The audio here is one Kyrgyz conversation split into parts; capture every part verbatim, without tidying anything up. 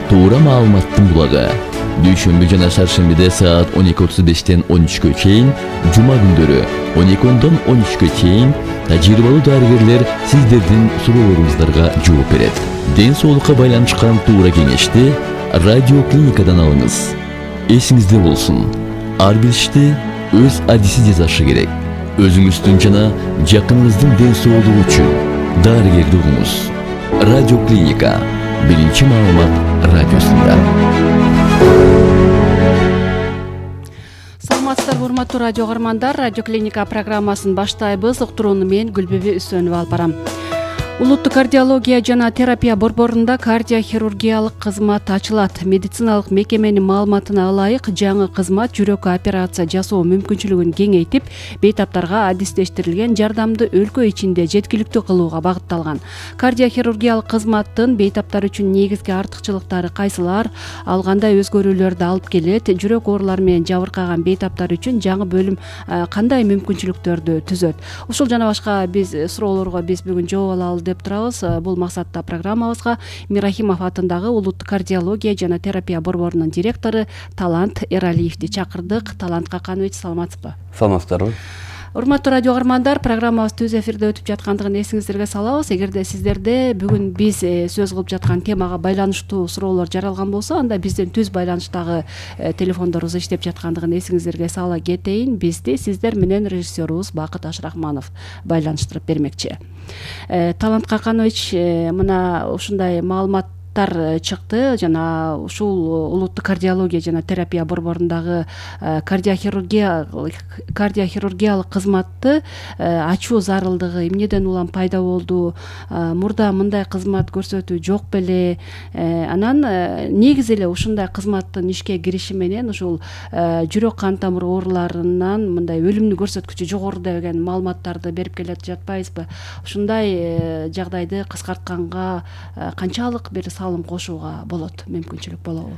туура маалыматтын булагы. Дүйшөмбү жана шаршембиде саат он эки отуз бештен он үчкө чейин, жума күндөрү он эки ондон он үчкө чейин тажрыйбалуу дарыгерлер сиздердин суроолоруңуздарга жооп берет. Ден соолукка байланышкан туура кеңешти радио клиникадан алыңыз. Эсиңизде болсун, ар бир ишти өз адиси жасашы керек. Өзүңүздүн жана жакыныңыздын ден соолугу үчүн дарыгерди угуңуз. Радио клиника биринчи маалымат радиосунда. Саламатсыздарбы, урматтуу радио каармандар. Радио клиника программасын баштайбыз. Уктурууну мен Гүлбүбү Үсөнова алып барам. Улуттук кардиология жана терапия борборунда кардиохирургиялык кызмат ачылат. Медициналык мекеменин маалыматына ылайык, жаңы кызмат жүрөккө операция жасоо мүмкүнчүлүгүн кеңейтип, бейтаптарга адистештирилген жардамды өлкө ичинде жеткиликтүү кылууга багытталган. Кардиохирургиялык кызматтын бейтаптар үчүн негизги артыкчылыктары кайсылар, ал кандай өзгөрүүлөрдү алып келет, жүрөк оорулары менен жабыркаган бейтаптар үчүн жаңы бөлүм кандай мүмкүнчүлүктөрдү түзөт? Ушул жана башка биз суроолорго биз бүгүн жооп алалы деп турабыз. Бул максатта программабызга Мирахимов атындагы Улуттук кардиология жана терапия борборунун директору Талант Эралиевди чакырдык. Талант Каканович, саламатсызбы? Саламатсыздарбы. Урматтуу радио каармандар, программабыз түз эфирде өтүп жаткандыгын эсиңиздерге салабыз. Эгерде сиздерде бүгүн биз сөз кылып жаткан темага байланыштуу суроолор жаралган болсо, анда биздин түз байланыштагы телефондорубуз иштеп жаткандыгын эсиңиздерге сала кетейин. Бизди сиздер менен режиссерубуз Бакыт Ашрахманов байланыштырып бермекчи. Талант Каканович, мына ушундай маалымат чыкты жана ушул улуттук кардиология жана терапия борборундагы кардиохирургия кардиохирургиялык кызматты ачуу зарылдыгы эмнеден улам пайда болду? Мурда мындай кызмат көрсөтүү жок беле? Анан негизи эле ушундай кызматтын ишке кириши менен ушул жүрөк кан тамыр ооруларынан мындай өлүмдүү көрсөткүчү жогору деген маалыматтарды берип келе жатпайбызбы? Ушундай жагдайды кыскартканга канчалык бир салым кошууга болот, мүмкүнчүлүк болобу?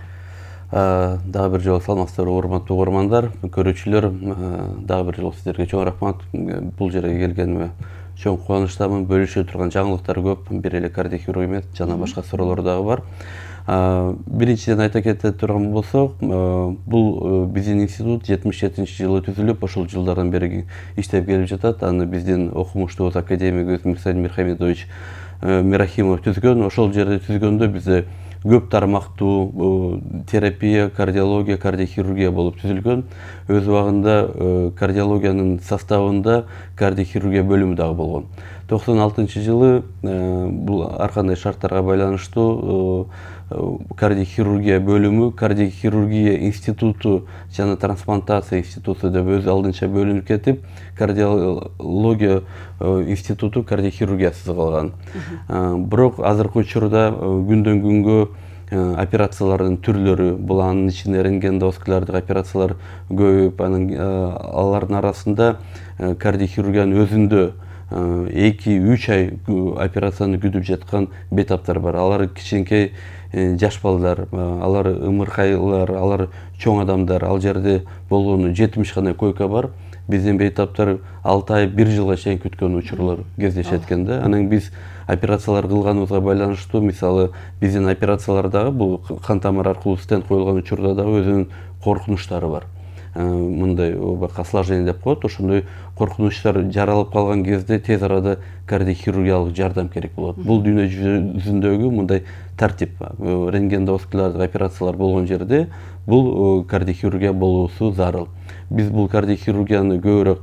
Дагы бир жолу саламатсыздарбы, урматтуу көрөрмандар, көрүүчүлөр. Дагы бир жолу сиздерге чоң рахмат. Бул жерге келгениме чоң кубанычтамын. Бөлүшө турган жаңылыктар көп. Бир эле кардиохирург эмес, жана башка суроолор дагы бар. Биринчиден айта кете турган болсок, бул биздин институт жетимиш жетинчи жылы түзүлүп, ошол жылдардан бери иштеп келип жатат. Аны биздин окумуштубуз академигибиз Мирсалим Мирхамедович Мирахимов түзгөн. Ошол жерде түзгөндө бизде көп тармактуу терапия, кардиология, кардиохирургия болуп түзүлгөн. Өз убагында кардиологиянын составында кардиохирургия бөлүмү дагы болгон. токсон алтынчы жылы бул ар кандай шарттарга байланыштуу кардиохирургия бөлүмү кардиохирургия институту жана трансплантация институту деп өз алдынча бөлүнүп кетип, кардиология институту кардиохирургиясыз калган. Бирок азыркы учурда күндөн күнгө операциялардын түрлөрү, бул анын ичинде рентгендоскоплордук операциялар көбөйүп, анын алардын арасында кардиохирургиянын өзүндө эки үч ай операцияны күтүп жаткан бейтаптар бар. Алар кичинекей жаш балдар, алар ымыркайлар, алар чоң адамдар. Ал жерде болгону жетимиш гана койка бар. Биздин бейтаптар алты ай, бир жылга чейин күткөн учурлар кездешет экен да. Анан биз операциялар кылганыбызга байланыштуу, мисалы, биздин операциялардагы бул кан тамыр аркылуу стенд коюлган учурда дагы өзүнүн коркунучтары бар. Мындай осложнение деп коет. Ошондой коркунучтар жаралып калган кезде тез арада кардиохирургиялык жардам керек болот. Бул дүйнө жүзүндөгү мындай тартип. Рентгендоскоплордук операциялар болгон жерде бул кардиохирургия болуусу зарыл. Биз бул кардиохирургияны көбүрөөк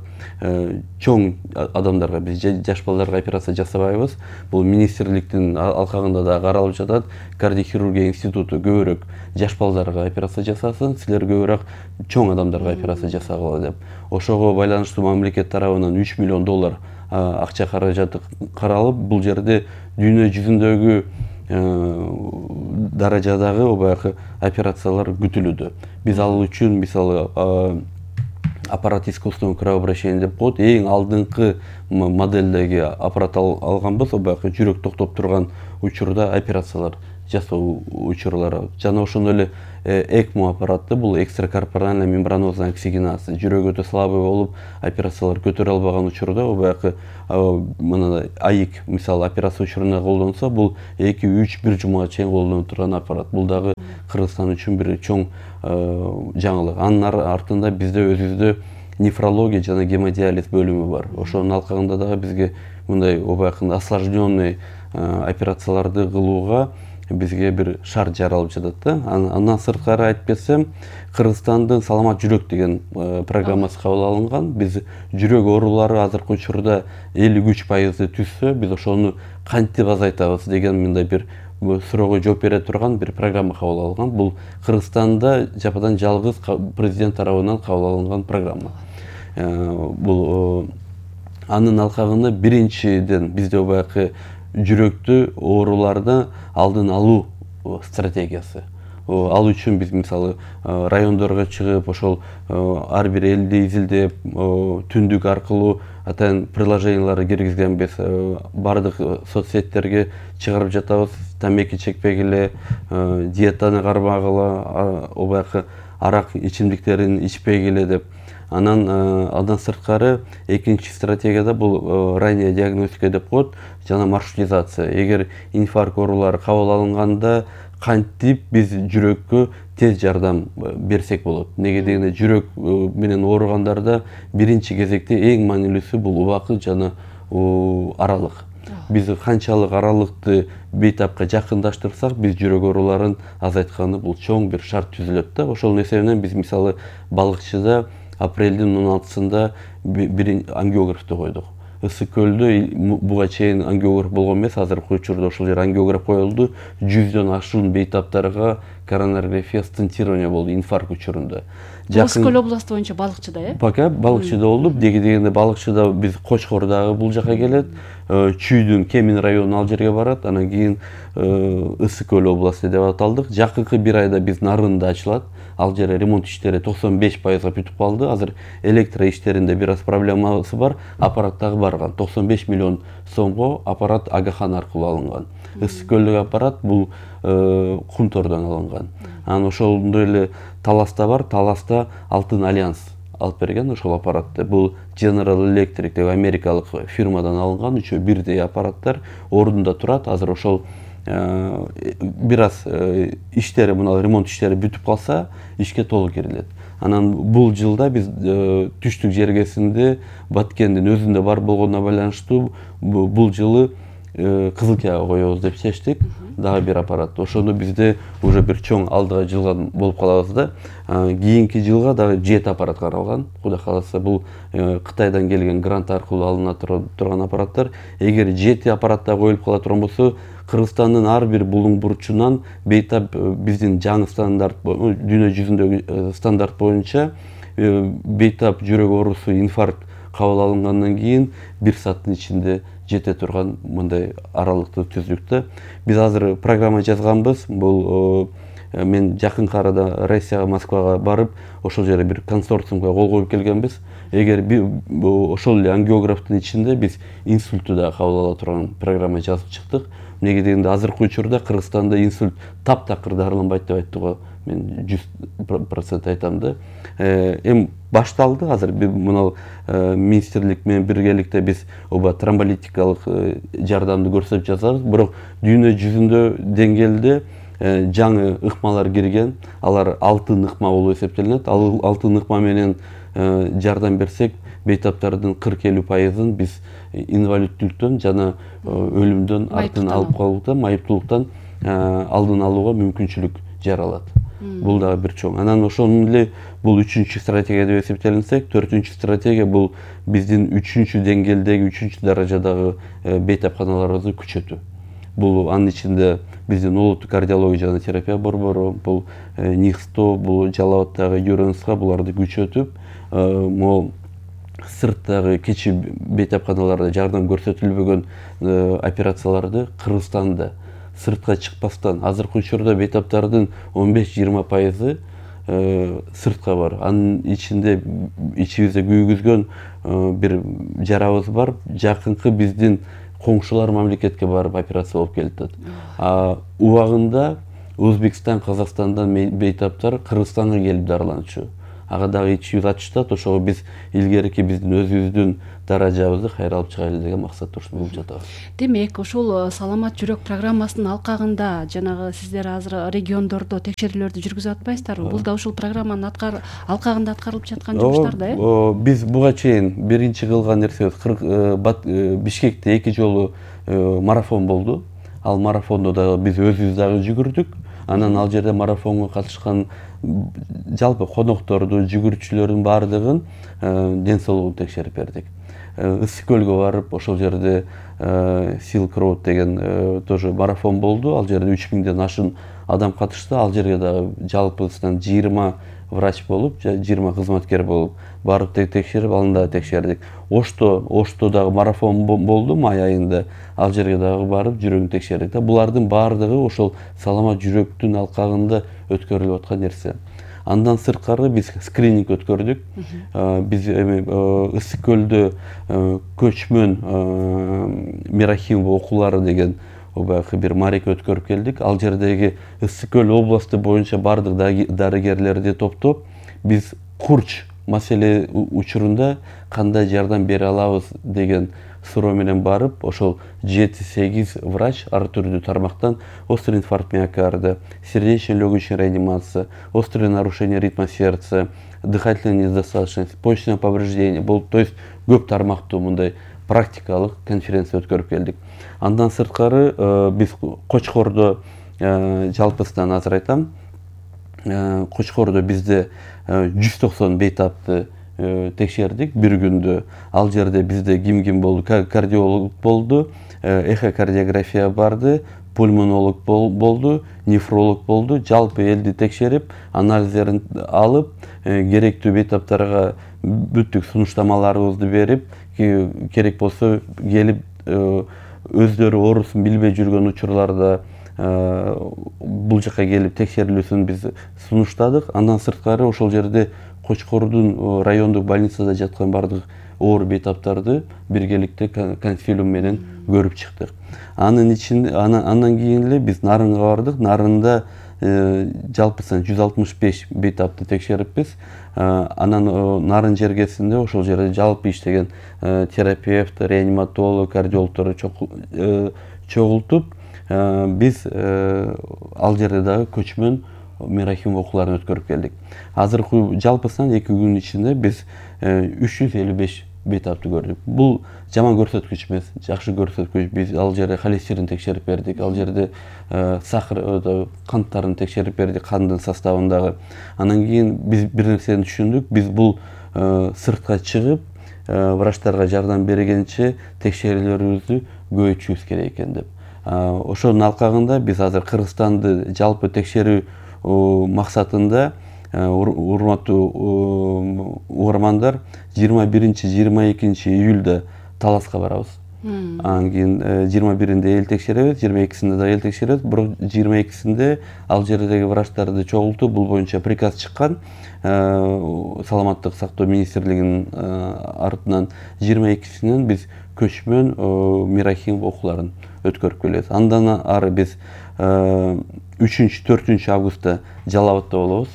чоң адамдарга, биз жаш балдарга операция жасабайбыз. Бул министрликтин алкагында да каралып жатат. Кардиохирургия институту көбүрөөк жаш балдарга операция жасасын, силер көбүрөөк чоң адамдарга операция жасагыла деп. Ошого байланыштуу мамлекет тарабынан үч миллион доллар акча каражаты каралып, бул жерде дүйнө жүзүндөгү даражадагы баягы операциялар күтүлүүдө. Биз ал үчүн мисалы аппарат искусственного кровообращения деп коет, эң алдыңкы модельдеги аппарат алганбыз, баягы жүрөк токтоп турган учурда операциялар жасоо учурлары жана ошондой эле экмо аппараты, бул экстракорпоральная мембранозная оксигенация, жүрөк өтө слабый болуп операциялар көтөрө албаган учурда баягы мына аик мисалы операция учурунда колдонсо, бул эки үч бир жумага чейин колдонуп турган аппарат. Бул дагы Кыргызстан үчүн бир чоң жаңылык. Анын артында бизде өзүбүздө нефрология жана гемодиализ бөлүмү бар. Ошонун алкагында дагы бизге мындай обаякын осложненный операцияларды кылууга бизге бир шарт жаралып жатат да. Андан сырткары айтып кетсем, Кыргызстандын саламат жүрөк деген программасы кабыл алынган. Биз жүрөк оорулары азыркы учурда элүү үч пайызды түзсө, биз ошону кантип азайтабыз деген мындай бир суроого жооп бере турган бир программа кабыл алынган. Бул Кыргызстанда жападан жалгыз президент тарабынан кабыл алынган программа. Бул анын алкагында биринчиден бизде баягы жүрөктү ооруларды алдын алуу стратегиясы. Ал үчүн биз мисалы райондорго чыгып, ошол ар бир элди изилдеп, түндүк аркылуу атайын приложенияларды киргизгенбиз. Бардык соцсеттерге чыгарып жатабыз. Тамеки чекпегиле, диетаны кармагыла, баягы арак ичимдиктерин ичпегиле деп. Анан андан сырткары экинчи стратегияда бул ранняя диагностика деп коет жана маршрутизация. Эгер инфаркт оорулары кабыл алынганда кантип биз жүрөккө тез жардам берсек болот. Неге дегенде жүрөк менен ооругандарда биринчи кезекте эң маанилүүсү бул убакыт жана аралык. Биз канчалык аралыкты бейтапка жакындаштырсак, биз жүрөк ооруларын азайтканы бул чоң бир шарт түзүлөт да. Ошонун эсебинен биз мисалы балыкчыда апрелдин он алтысында бир ангиографты койдук. Ысык көлдө буга чейин ангиограф болгон эмес, азыркы учурда ошол жер ангиограф коюлду. жүздөн ашуун бейтаптарга коронарография стентирование болду инфаркт учурунда. Ысык көл областы боюнча балыкчыда, э? Пока балыкчыда болду. Деги дегенде балыкчыда биз Кочкор дагы бул жака келет. Чүйдүн Кемин району ал жерге барат. Анан кийин Ысык көл областы деп аталдык. Жакынкы бир айда биз Нарында ачылат. Ал жерде ремонт иштери токсон беш пайызга бүтүп калды. Азыр электро иштеринде бир аз проблемасы бар. Аппарат дагы барган. токсон беш миллион сомго аппарат Агахан аркылуу алынган. Ысык көлдөгү аппарат бул Кунтордон алынган. Анан ошондой эле Таласта бар. Таласта Алтын Альянс алып берген ошол аппаратты. Бул General Electric деп америкалык фирмадан алынган үчөө бирдей аппараттар ордунда турат. Азыр ошол бир аз иштери, мына ремонт иштери бүтүп калса, ишке толук кирилет. Анан бул жылда биз түштүк жергесинде Баткендин өзүндө бар болгонуна байланыштуу бул жылы Кызылкияга коебуз деп чечтик. Дагы бир аппарат. Ошондо бизде уже бир чоң алдыга жылган болуп калабыз да. Кийинки жылга дагы жети аппарат каралган. Кудай кааласа бул Кытайдан келген грант аркылуу алына турган аппараттар. Эгер жети аппаратта коюлуп кала турган болсо, Кыргызстандын ар бир булуң бурчунан бейтап биздин жаңы стандарт, дүйнө жүзүндөгү стандарт боюнча бейтап жүрөк оорусу инфаркт кабыл алынгандан кийин бир сааттын ичинде жете турган мындай аралыкты түздүк да. Биз азыр программа жазганбыз. Бул мен жакынкы арада Россияга, Москвага барып, ошол жерде бир консорциумга кол коюп келгенбиз. Эгер ошол эле ангиографтын ичинде биз инсультту да кабыл ала турган программа жазып чыктык. Неге дегенде азыркы учурда Кыргызстанда инсульт таптакыр дарыланбайт деп айттыга мен жүз процент айтам да. Эми башталды. Азыр мына министрлик менен биргеликте биз оба тромболитикалык жардамды көрсөтүп жатабыз. Бирок дүйнө жүзүндө деңгээлде жаңы ыкмалар кирген. Алар алтын ыкма болуп эсептелинет. Ал алтын ыкма менен жардам берсек, бейтаптардын кырк элүү пайызын биз инвалидтүүлүктөн жана өлүмдөн артын алып калуудан, майыптуулуктан алдын алууга мүмкүнчүлүк жаралат. Бул дагы бир чоң. Анан ошону эле бул үчүнчү стратегия деп эсептелинсек, төртүнчү стратегия бул биздин үчүнчү деңгээлдеги, үчүнчү даражадагы бейтапканаларыбызды күчөтүү. Бул анын ичинде биздин улуттук кардиология жана терапия борбору, бул НИХСТО, бул Жалал Абаддагы ЮРНСК буларды күчөтүп, могу сырттагы кичи бейтапканаларда жардам көрсөтүлбөгөн операцияларды Кыргызстанда сыртка чыкпастан, азыркы учурда бейтаптардын он беш жыйырма пайызы сыртка бар. Анын ичинде ичибизде күйгүзгөн бир жарабыз бар. Жакынкы биздин коңшулар мамлекетке барып операция болуп келип атат. А убагында Өзбекстан, Казакстандан бейтаптар Кыргызстанга келип дарыланчу. Ага дагы ичи жүз ачышат, ошого биз илгерки биздин өзүбүздүн даражабызды кайра алып чыгайлы деген максатта ушуну кылып жатабыз. Демек, ушул саламат жүрөк программасынын алкагында жанагы сиздер азыр региондордо текшерүүлөрдү жүргүзүп атпайсыздарбы? Бул да ушул программанын алкагында аткарылып жаткан жумуштар да, э? Биз буга чейин биринчи кылган нерсебиз Бишкекте эки жолу марафон болду. Ал марафондо да биз өзүбүз дагы жүгүрдүк. Анан ал жерде марафонго катышкан жалпы конокторду, жүгүрүүчүлөрдүн баардыгын ден соолугун текшерип бердик. Ысык көлгө барып, ошол жерде Silk Road деген тоже марафон болду. Ал жерде үч миңден ашын адам катышты. Ал жерге дагы жалпысынан жыйырма врач болуп, жыйырма кызматкер болуп барып текшерип, аны да текшердик. Ошто, Ошто дагы марафон болду май айында. Ал жерге дагы барып жүрөгүн текшердик. Булардын баардыгы ошол саламат жүрөктүн алкагында өткөрүлүп аткан нерсе. Андан сырткары биз скрининг өткөрдүк. Биз эми Ысык көлдө көчмөн Мирахимов окуулары деген баягы бир марек өткөрүп келдик. Ал жердеги Ысык көл областы боюнча бардык дарыгерлерди топтоп, биз курч маселе учурунда кандай жардам бере алабыз деген суроо менен барып, ошол жети сегиз врач ар түрдүү тармактан острый инфаркт миокарда, сердечно-легочная реанимация, острое нарушение ритма сердца, дыхательная недостаточность, почечное повреждение болуп, то есть көп тармактуу мындай практикалык конференция өткөрүп келдик. Андан сырткары биз Кочкордо жалпысынан азыр айтам. Кочкордо бизде жүз токсон бейтапты текшердик бир күндө. Ал жерде бизде ким-ким болду? Кардиолог болду, эхокардиография барды, пульмонолог болду, нефролог болду. Жалпы элди текшерип, анализдерин алып, керектүү бейтаптарга бүттүк сунуштамаларыбызды берип, керек болсо келип өздөрү оорусун билбей жүргөн учурларда бул жака келип текшерилүүсүн биз сунуштадык. Андан сырткары ошол жерде Кочкордун райондук больницада жаткан бардык оор бейтаптарды биргеликте консилиум менен көрүп чыктык. Анын ичинде андан кийин эле биз Нарынга бардык. Нарында жалпысынан жүз алтымыш беш бейтапты текшериппиз. Анан Нарын жергесинде ошол жерде жалпы иштеген терапевт, реаниматолог, кардиологторду чогултуп, биз ал жерде дагы көчмөн Мирахимов окууларын өткөрүп келдик. Азыркы жалпысынан эки күн ичинде биз үч жүз элүү беш бейтапты көрдүк. Бул жаман көрсөткүч эмес, жакшы көрсөткүч. Биз ал жерде холестерин текшерип бердик, ал жерде сахар, канттарын текшерип бердик, кандын составындагы. Анан кийин биз бир нерсени түшүндүк, биз бул сыртка чыгып, врачтарга жардам бергенче текшерүүлөрүбүздү көбөйтүшүбүз керек экен деп. Ошонун алкагында биз азыр Кыргызстанды жалпы текшерүү максатында, урматтуу угармандар, жыйырма биринчи жыйырма экинчи июлда Таласка барабыз. Анан кийин жыйырма биринде эл текшеребиз, жыйырма экисинде да эл текшеребиз. Бирок жыйырма экисинде ал жердеги врачтарды чогултуп, бул боюнча приказ чыккан саламаттык сактоо министрлигинин артынан. жыйырма экисинен биз көчмөн Мирахимов окууларын өткөрүп келебиз. Андан ары биз үчүнчү төртүнчү августта Жалал абадта болобуз.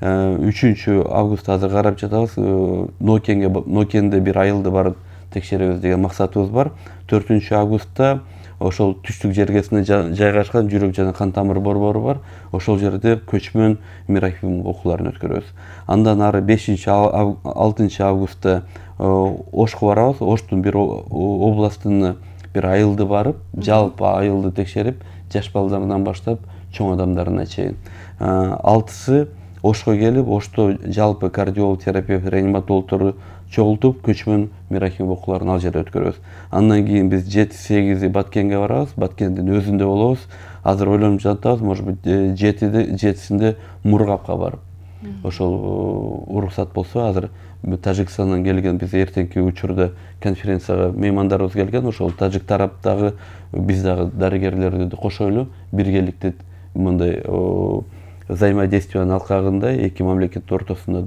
үчүнчү августта азыр карап жатабыз. Нокенге Нокенде бир айылды барып текшеребиз деген максатыбыз бар. төртүнчү августта ошол түштүк жергесинде жайгашкан жүрөк жана кан тамыр борбору бар. Ошол жерде көчмөн Мирахимов окууларын өткөрөбүз. Андан ары бешинчи алтынчы августта Ошко барабыз. Оштун бир областына бир айылды барып, жалпы айылды текшерип, жаш балдардан баштап чоң адамдарына чейин. Алтысы Ошко келип, Ошто жалпы кардиолог, терапевт, реаниматологторду чогултуп, көчмөн Мирахимов окууларын ал жерде өткөрөбүз. Андан кийин биз жети сегизи Баткенге барабыз. Баткендин өзүндө болобуз. Азыр ойлонуп жатабыз, может быть, жетисинде Мургапка барып. Ошол уруксат болсо, азыр Тажикстандан келген, биз эртеңки учурда конференцияга меймандарыбыз келген. Ошол тажик тараптагы биз дагы дарыгерлерди кошойлу биргеликте мындай взаимодействиянын алкагында эки мамлекеттин ортосунда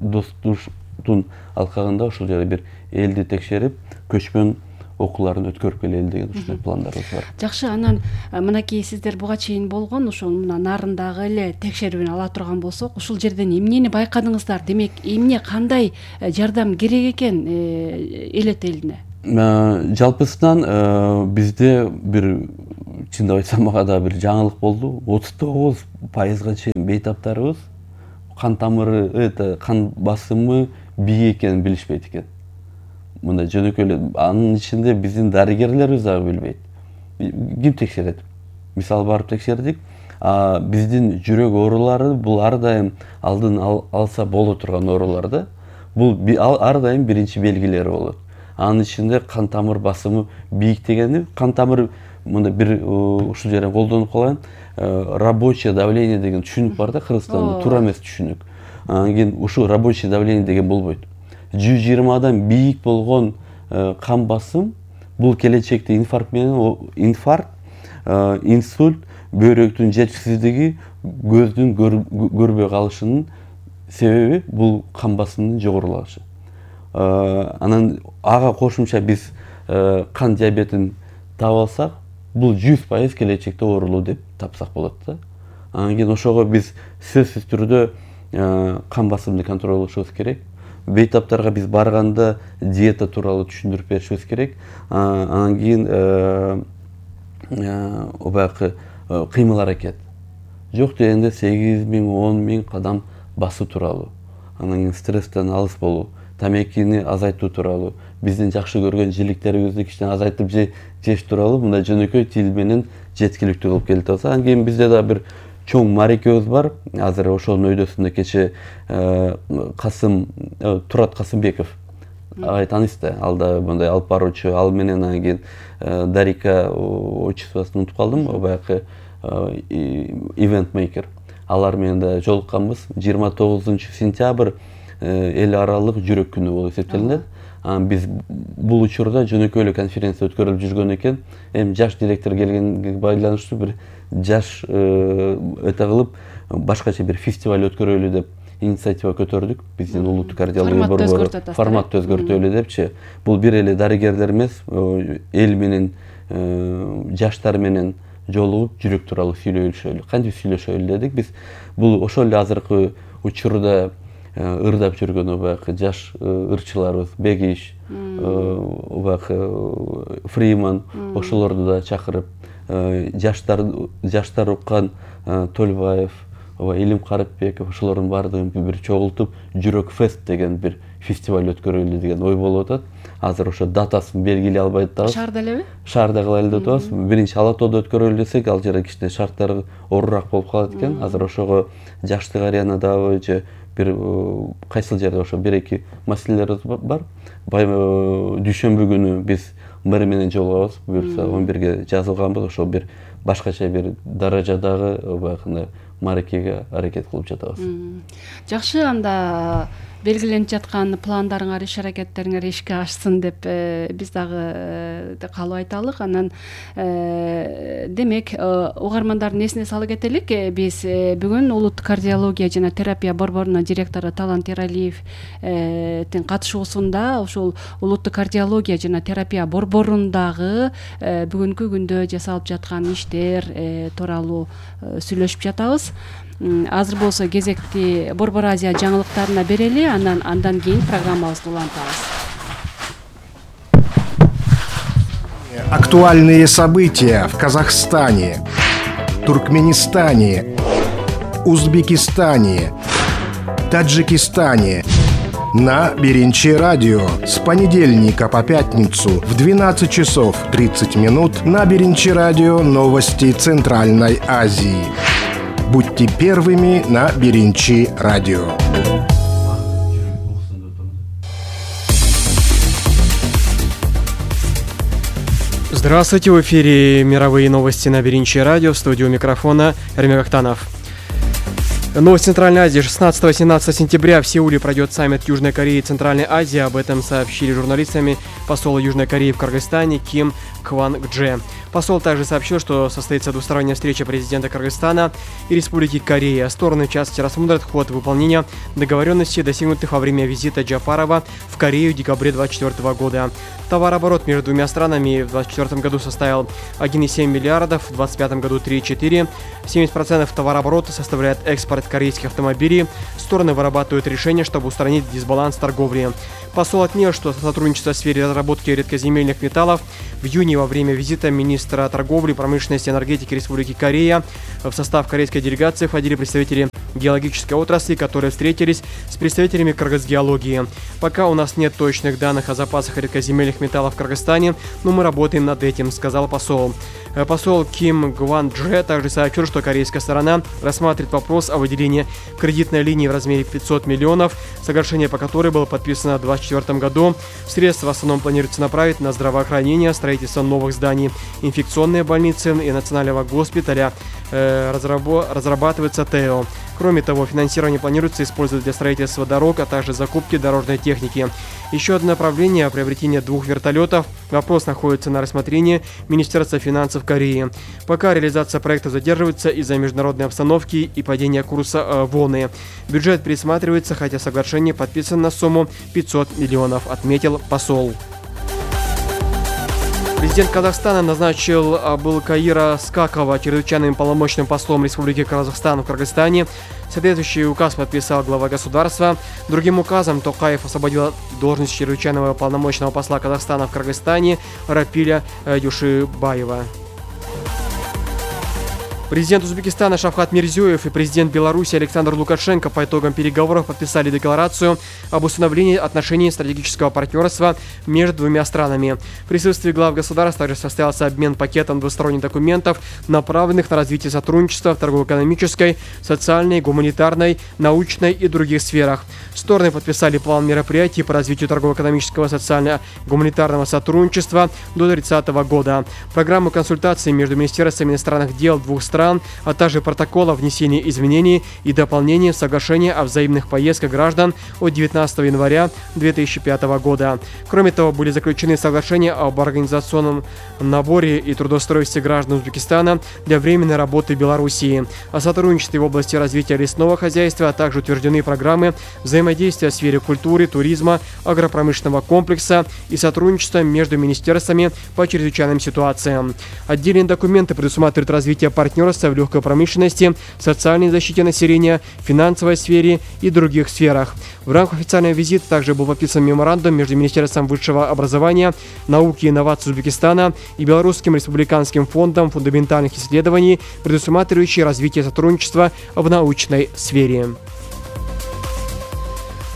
достуктун алкагында ошол жерде бир элди текшерип, көчмөн окууларын өткөрүп келели деген ушундай пландарыбыз бар. Жакшы, анан мынакей сиздер буга чейин болгон ушул мына нарындагы эле текшерүүнү ала турган болсок, ушул жерден эмнени байкадыңыздар? Демек, эмне кандай жардам керек экен элет элине? Жалпысынан бизде бир чындап айтсам мага да бир жаңылык болду. отуз тогуз пайызга чейин бейтаптарыбыз кан тамыры, это кан басымы бийик экенин билишпейт экен. Мындай жөнөкөй эле, анын ичинде биздин дарыгерлерибиз дагы билбейт. Ким текшерет? Мисалы барып текшердик. А биздин жүрөк оорулары бул ар дайым алдын алса боло турган оорулар да. Бул ар дайым биринчи белгилери болот. Анын ичинде кан тамыр басымы бийик дегени, кан тамыр мында бир ушул жерден колдонуп калайын, рабочее давление деген түшүнүк бар да Кыргызстанда, туура эмес түшүнүк. Анан кийин ушул рабочее давление деген болбойт. жүз жыйырмадан бийик болгон кан басым бул келечекте инфаркт менен инфаркт, инсульт, бөйрөктүн жетишсиздиги, көздүн көрбөй калышынын себеби бул кан басымынын жогорулашы. Анан ага кошумча биз кан диабетин таап алсак, бул жүз пайыз келечекте оорулуу деп тапсак болот да. Анан кийин ошого биз сөзсүз түрдө кан басымды контролдошубуз керек. Бейтаптарга биз барганда диета тууралуу түшүндүрүп беришибиз керек. Анан кийин убакы кыймыл аракет. Жок дегенде сегиз миң, он миң кадам басуу тууралуу. Анан кийин стресстен алыс болуу, тамекини азайтуу тууралуу, биздин жакшы көргөн жиликтерибизди кичине азайтып жеш тууралуу мындай жөнөкөй тил менен жеткиликтүү кылып келип атабыз. Анан кийин бизде да бир чоң марекебиз бар. Азыр ошонун өйдөсүндө кече Касым Турат Касымбеков ай таанысыз да, ал да мындай алып баруучу, ал менен анан кийин Дарика отчествосын унутуп калдым, баягы event maker. Алар менен да жолукканбыз. жыйырма тогузунчу сентябрь эл аралык жүрөк күнү болуп эсептелинет. Анан биз бул учурда жөнөкөй эле конференция өткөрүлүп жүргөн экен. Эми жаш директор келгенге байланыштуу бир жаш өтө кылып башкача бир фестиваль өткөрөлү деп инициатива көтөрдүк. Биздин улуттук кардиология борбору форматты өзгөртөлү депчи. Бул бир эле дарыгерлер эмес, эл менен жаштар менен жолугуп жүрөк тууралуу сүйлөшөлү. Кантип сүйлөшөлү дедик биз. Бул ошол эле азыркы учурда ырдап жүргөн убакы жаш ырчыларыбыз, Бегиш, убакы Фриман, ошолорду да чакырып, жаштар жаштар уккан Толбаев, Илим Карыпбеков, ошолордун баардыгын бир чогултуп, жүрөк фест деген бир фестиваль өткөрөлү деген ой болуп атат. Азыр ошо датасын белгилей албай атабыз. Шаарда элеби? Шаарда кылайлы деп атабыз. Биринчи Ала тоодо өткөрөлү десек, ал жерде кичине шарттар оорураак болуп калат экен. Азыр ошого жаштык аренадагы же бир кайсыл жерде ошо бир эки маселелерибиз бар. Дүйшөмбү күнү биз мэр менен жолугабыз. Буюрса он бирге жазылганбыз. Ошо бир башкача бир даражадагы баягындай марекеге аракет кылып жатабыз. Жакшы, анда белгиленип жаткан пландарыңар, иш аракеттериңер ишке ашсын деп биз дагы каалоо айталык. Анан демек угармандардын эсине сала кетелик. Биз бүгүн улуттук кардиология жана терапия борборунун директору Талант Эралиевдин катышуусунда ушул улуттук кардиология жана терапия борборундагы бүгүнкү күндө жасалып жаткан иштер тууралуу сүйлөшүп жатабыз. Азыр болсо кезекти Борбор Азия жаңылыктарына берели, анан андан кийин программабызды улантабыз. Актуальные события в Казахстане, Туркменистане, Узбекистане, Таджикистане на Биринчи радио с понедельника по пятницу в двенадцать часов тридцать минут на Биринчи радио новости Центральной Азии. Будьте первыми на Биринчи радио. Здравствуйте, в эфире мировые новости на Биринчи радио, в студию микрофона Эрмек Актанов. Новость Центральной Азии. шестнадцатого-семнадцатого сентября в Сеуле пройдет саммит Южной Кореи и Центральной Азии. Об этом сообщили журналистами посол Южной Кореи в Кыргызстане Ким Кванг Дже. Посол также сообщил, что состоится двусторонняя встреча президента Кыргызстана и Республики Корея. Стороны в частности рассмотрят ход выполнения договоренностей, достигнутых во время визита Джапарова в Корею в декабре две тысячи двадцать четвёртого года. Товарооборот между двумя странами в две тысячи двадцать четвёртом году составил один и семь миллиардов, в две тысячи двадцать пятом году три и четыре. семьдесят процентов товарооборота составляет экспорт корейских автомобилей. Стороны вырабатывают решения, чтобы устранить дисбаланс торговли. Посол отметил, что сотрудничество в сфере разработки редкоземельных металлов в июне во время визита министра торговли, промышленности и энергетики Республики Корея в состав корейской делегации входили представители геологической отрасли, которые встретились с представителями кыргызгеологии. Пока у нас нет точных данных о запасах редкоземельных металлов в Кыргызстане, но мы работаем над этим, сказал посол. Посол Ким Кванг Дже также сообщил, что корейская сторона рассматривает вопрос о выделении кредитной линии в размере пятьсот миллионов, соглашение по которой было подписано в две тысячи двадцать четвёртом году. Средства в основном планируется направить на здравоохранение, строительство новых зданий, инфекционные больницы и национального госпиталя. Э, разрабо- разрабатывается ТЭО. Кроме того, финансирование планируется использовать для строительства дорог, а также закупки дорожной техники. Еще одно направление – приобретение двух вертолетов. Вопрос находится на рассмотрении Министерства финансов Кореи. Пока реализация проекта задерживается из-за международной обстановки и падения курса э, воны. Бюджет пересматривается, хотя соглашение подписано на сумму пятьсот миллионов, отметил посол. Президент Казахстана назначил Абылкаира Скакова чрезвычайным полномочным послом Республики Казахстан в Кыргызстане. Соответствующий указ подписал глава государства. Другим указом Токаев освободил должность чрезвычайного полномочного посла Казахстана в Кыргызстане Рапиля Юшибаева. Президент Узбекистана Шавкат Мирзиёев и президент Беларуси Александр Лукашенко по итогам переговоров подписали декларацию об установлении отношений стратегического партнерства между двумя странами. В присутствии глав государств также состоялся обмен пакетом двусторонних документов, направленных на развитие сотрудничества в торгово-экономической, социальной, гуманитарной, научной и других сферах. Стороны подписали план мероприятий по развитию торгово-экономического, социально-гуманитарного сотрудничества до тридцатого года, программу консультаций между министерствами иностранных дел двух стран, а также протокол о внесении изменений и дополнений в соглашение о взаимных поездках граждан от девятнадцатого января две тысячи пятого года. Кроме того, были заключены соглашения об организационном наборе и трудоустройстве граждан Узбекистана для временной работы в Белоруссии, о сотрудничестве в области развития лесного хозяйства, а также утверждены программы взаимодействия в сфере культуры, туризма, агропромышленного комплекса и сотрудничества между министерствами по чрезвычайным ситуациям. Отдельные документы предусматривают развитие партнерства в легкой промышленности, социальной защите населения, финансовой сфере и других сферах. В рамках официального визита также был подписан меморандум между Министерством высшего образования, науки и инноваций Узбекистана и Белорусским республиканским фондом фундаментальных исследований, предусматривающий развитие сотрудничества в научной сфере.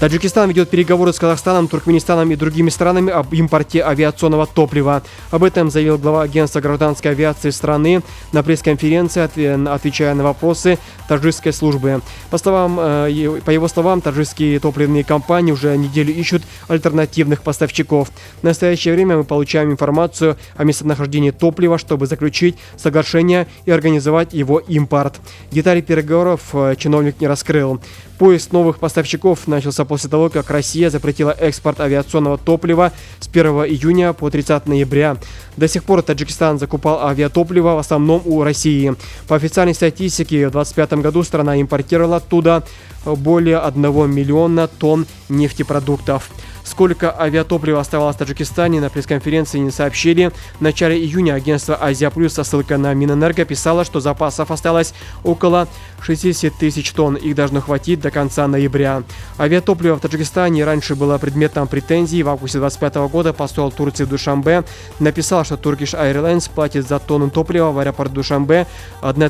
Таджикистан ведет переговоры с Казахстаном, Туркменистаном и другими странами об импорте авиационного топлива. Об этом заявил глава агентства гражданской авиации страны на пресс-конференции, отвечая на вопросы таджикской службы. По словам, по его словам, таджикские топливные компании уже неделю ищут альтернативных поставщиков. В настоящее время мы получаем информацию о местонахождении топлива, чтобы заключить соглашение и организовать его импорт. Детали переговоров чиновник не раскрыл. Поиск новых поставщиков начался после того, как Россия запретила экспорт авиационного топлива с первого июня по тридцатого ноября. До сих пор Таджикистан закупал авиатопливо в основном у России. По официальной статистике, в две тысячи двадцать пятом году страна импортировала оттуда более одного миллиона тонн нефтепродуктов. Сколько авиатоплива оставалось в Таджикистане, на пресс-конференции не сообщили. В начале июня агентство «Азия Плюс» со ссылкой на Минэнерго писало, что запасов осталось около шестьдесят тысяч тонн. Их должно хватить до конца ноября. Авиатопливо в Таджикистане раньше было предметом претензий. В августе две тысячи двадцать пятого года посол Турции в Душанбе написал, что Turkish Airlines платит за тонну топлива в аэропорт Душанбе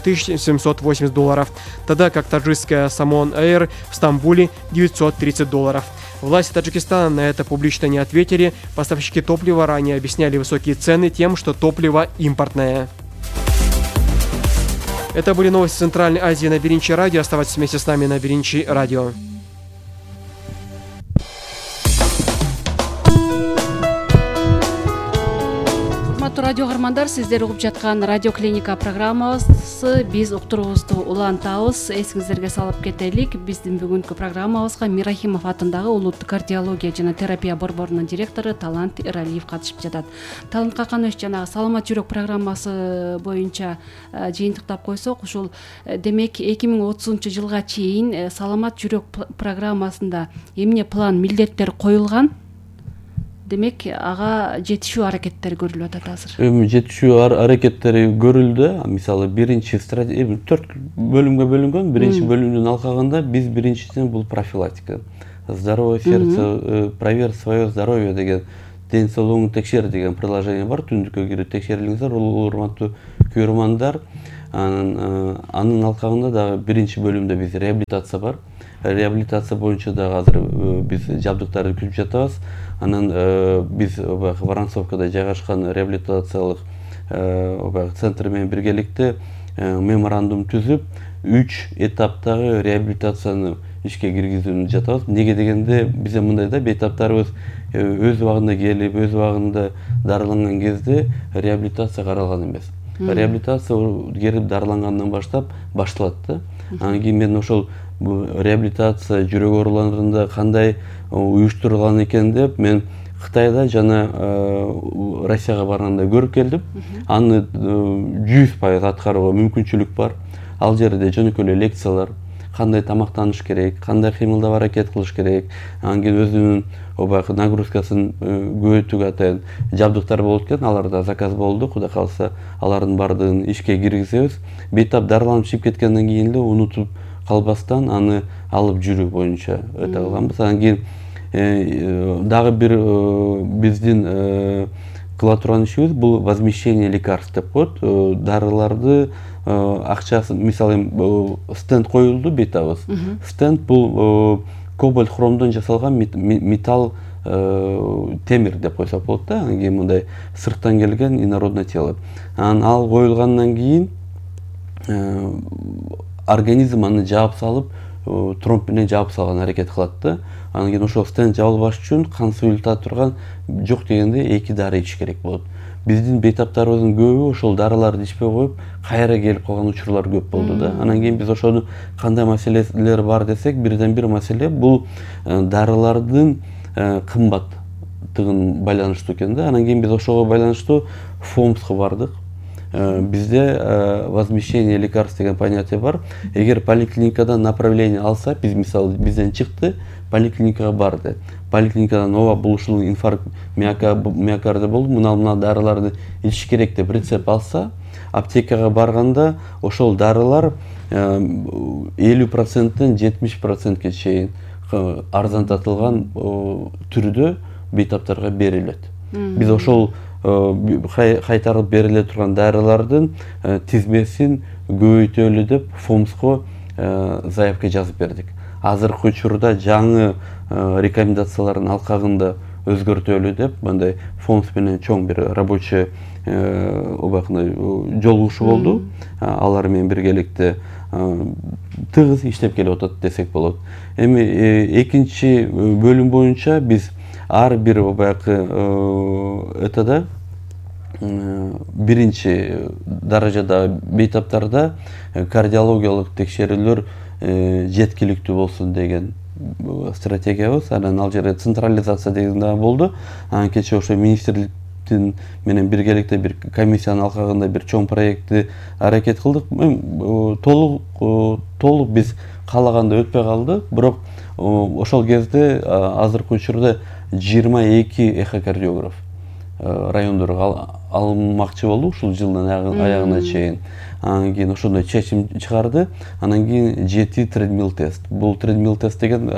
тысячу семьсот восемьдесят долларов, тогда как таджикская Самон Air в Стамбуле девятьсот тридцать долларов. Власти Таджикистана на это публично не ответили. Поставщики топлива ранее объясняли высокие цены тем, что топливо импортное. Это были новости Центральной Азии на Беринчи Радио. Оставайтесь вместе с нами на Беринчи Радио. урматтуу радио каармандар, сиздер угуп жаткан радио клиника программасы. Биз уктуруубузду улантабыз. Эсиңиздерге салып кетелик, биздин бүгүнкү программабызга Мирахимов атындагы улуттук кардиология жана терапия борборунун директору Талант Эралиев катышып жатат. Талант Каканович, жанагы саламат жүрөк программасы боюнча жыйынтыктап койсок, ушул демек эки миң отузунчу жылга чейин саламат жүрөк программасында эмне план, милдеттер коюлган? Демек, ага жетишүү аракеттери көрүлүп атат азыр. Эми жетишүү аракеттери көрүлдү. Мисалы, биринчи стратегия төрт бөлүмгө бөлүнгөн. Биринчи бөлүмдүн алкагында биз биринчисин бул профилактика. Здоровое сердце, проверь свое здоровье деген, ден соолугуңду текшер деген приложение бар. Түндүккө кирип текшерилиңиздер, урматтуу көрөрмандар. Анын алкагында дагы биринчи бөлүмдө биз реабилитация бар. Реабилитация боюнча дагы азыр биз жабдыктарды күтүп жатабыз. Анан биз Воронцовкада жайгашкан реабилитациялык центр менен биргеликте меморандум түзүп, үч этаптагы реабилитацияны ишке киргизүүнү жатабыз. Неге дегенде, бизде мындай да, бейтаптарыбыз өз убагында келип, өз убагында дарыланган кезде реабилитация каралган эмес. Реабилитация келип дарылангандан баштап башталат да. Анан кийин мен ошол реабилитация жүрөк ооруларында кандай уюштурулган экен деп мен Кытайда жана Россияга барганда көрүп келдим. Аны жүз пайыз аткарууга мүмкүнчүлүк бар. Ал жерде жөнөкөй эле лекциялар, кандай тамактаныш керек, кандай кыймылдап аракет кылыш керек, анан кийин өзүнүн обаягы нагрузкасын көбөйтүүгө атайын жабдыктар болот экен. Аларда заказ болду. Кудай кааласа, алардын бардыгын ишке киргизебиз. Бейтап дарыланып чыгып кеткенден кийин эле унутуп калбастан аны алып жүрүү боюнча өтө кылганбыз. Анан кийин дагы бир биздин кыла турган ишибиз бул возмещение лекарств деп коет. Дарыларды акчасын, мисалы, стенд коюлду бейтабыз. Стенд бул кобальт хромдон жасалган металл темир деп койсок болот да. Анан кийин мындай сырттан келген инородное тело. Анан ал коюлгандан кийин организм аны жаап салып, тромб менен жаап салган аракет кылат да. Анан кийин ошол стенд жабылбаш үчүн кан суюлта турган жок дегенде эки дары ичиш керек болот. Биздин бейтаптарыбыздын көбү ошол дарыларды ичпей коюп, кайра келип калган учурлар көп болду да. Анан кийин биз ошону кандай маселелер бар десек, бирден бир маселе бул дарылардын кымбаттыгын байланыштуу экен да. Анан кийин биз ошого байланыштуу ФОМСка бардык. Бизде возмещение лекарств деген понятие бар. Эгер поликлиникадан направление алса, биз мисалы бизден чыкты, поликлиникага барды. Поликлиникадан ооба бул ушул инфаркт миокарда болду, мына мына дарыларды ичиш керек деп рецепт алса, аптекага барганда ошол дарылар элүү проценттен жетимиш процентке чейин арзандатылган түрдө бейтаптарга берилет. Биз ошол кайтарып бериле турган дарылардын тизмесин көбөйтөлү деп ФОМСко заявка жазып бердик. Азыркы учурда жаңы рекомендациялардын алкагында өзгөртөлү деп мындай ФОМС менен чоң бир рабочий жолугушуу болду. Алар менен биргеликте тыгыз иштеп келип атат десек болот. Эми экинчи бөлүм боюнча биз ар бир баягы этада биринчи даражада бейтаптарда кардиологиялык текшерүүлөр жеткиликтүү болсун деген стратегиябыз. Анан ал жерде централизация деген да болду. Анан кечээ ошо министрликтин менен биргеликте бир комиссиянын алкагында бир чоң проектти аракет кылдык. Толук толук биз каалаганда өтпөй калды. Бирок ошол кезде азыркы учурда жыйырма эки эхокардиограф райондорго алынмакчы болду ушул жылдын аягына чейин. Анан кийин ошондой чечим чыгарды. Анан кийин жети тредмил тест. Бул тредмил тест деген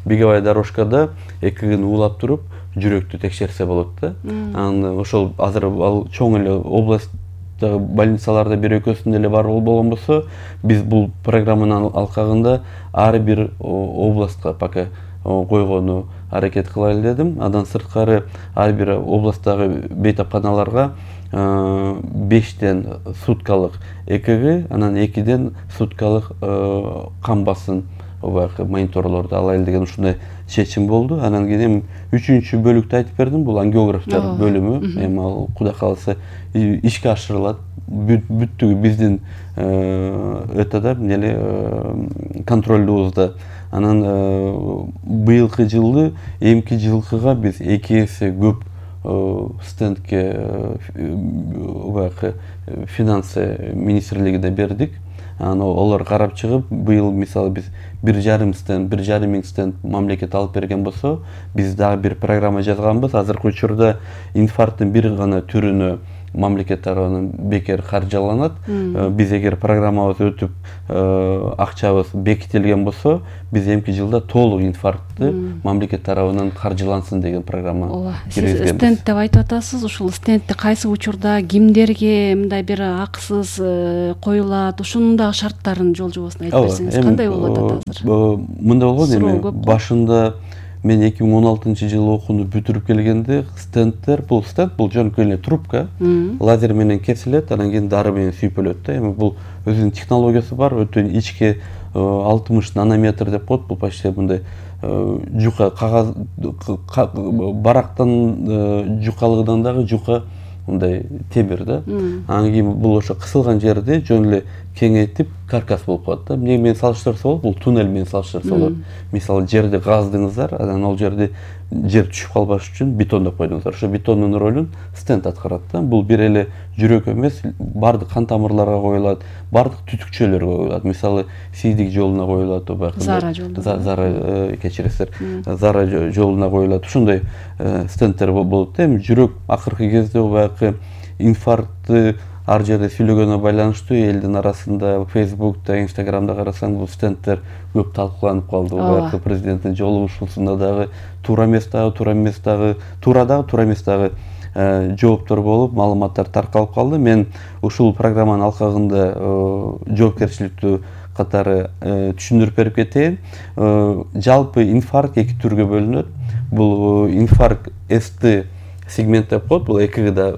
беговая дорожкада экигин уулап туруп жүрөктү текшерсе болот да. Анан ошол азыр ал чоң эле областтагы больницаларда бир экөөсүндө эле бар болгон болсо, биз бул программанын алкагында ар бир областка пока койгону аракет кылайлы дедим. Андан сырткары ар бир областтагы бейтапканаларга бештен суткалык ЭКГ, анан экиден суткалык кан басым баягы мониторлорду алайлы деген ушундай чечим болду. Анан кийин үчүнчү бөлүктү айтып бердим, бул ангиографтар бөлүмү. Эми ал кудай кааласа ишке ашырылат. Бүттүгү биздин этада эле контролдубузда. Анан быйылкы жылы эмки жылкыга биз эки эсе көп стендке баягы финансы министрлигине бердик. Анан олар карап чыгып, быйыл мисалы биз бир жарым стенд, бир жарым миң стенд мамлекет алып берген болсо, биз дагы бир программа жазганбыз. Азыркы учурда инфаркттын бир гана түрүнө мамлекет тарабынан бекер каржыланат. Биз эгер программабыз өтүп, акчабыз бекитилген болсо, биз эмки жылда толук инфарктты мамлекет тарабынан каржылансын деген программа киргизгенбиз. Сиз стенд деп айтып атасыз. Ушул стендти кайсы учурда кимдерге мындай бир акысыз коюлат, ушунун дагы шарттарын жол жобосун айтып берсеңиз кандай болот азыр? Мындай болгон, эми башында мен эки миң он алтынчы жылы окууну бүтүрүп келгенде стендтер, бул стенд бул жөнөкөй эле трубка, лазер менен кесилет, анан кийин дары менен сүйпөлөт да. Эми бул өзүнүн технологиясы бар, өтө ичке алтымыш нанометр деп коет. Бул почти мындай жука кагаз барактан жукалыгынан дагы жука мындай темир да. Анан кийин бул ошо кысылган жерде жөн эле кеңейтип каркас болуп калат да. Эмне менен салыштырса болот? Бул туннель менен салыштырса болот. Мисалы жерди каздыңыздар, анан ал жерде жер түшүп калбаш үчүн бетондоп койдуңуздар. Ошо бетондун ролун стенд аткарат да. Бул бир эле жүрөк эмес, бардык кан тамырларга коюлат, бардык түтүкчөлөргө коюлат. Мисалы сийдик жолуна коюлат, баягы зара жолуна. Зара кечиресиздер. Зара жолуна коюлат. Ушундай стендтер болот да. Эми жүрөк акыркы кезде баягы инфарктты ар жерде сүйлөгөнүнө байланыштуу элдин арасында Facebook'та, Instagram'да карасаң, бул стендтер көп талкууланып калды. Баягы президенттин жолугушуусунда дагы туура эмес дагы, туура эмес дагы, туура дагы, туура эмес дагы жооптор болуп, маалыматтар таркалып калды. Мен ушул программанын алкагында жоопкерчиликтүү катары түшүндүрүп берип кетейин. Жалпы инфаркт эки түргө бөлүнөт. Бул инфаркт эс-ти сегмент деп коет. Бул экигда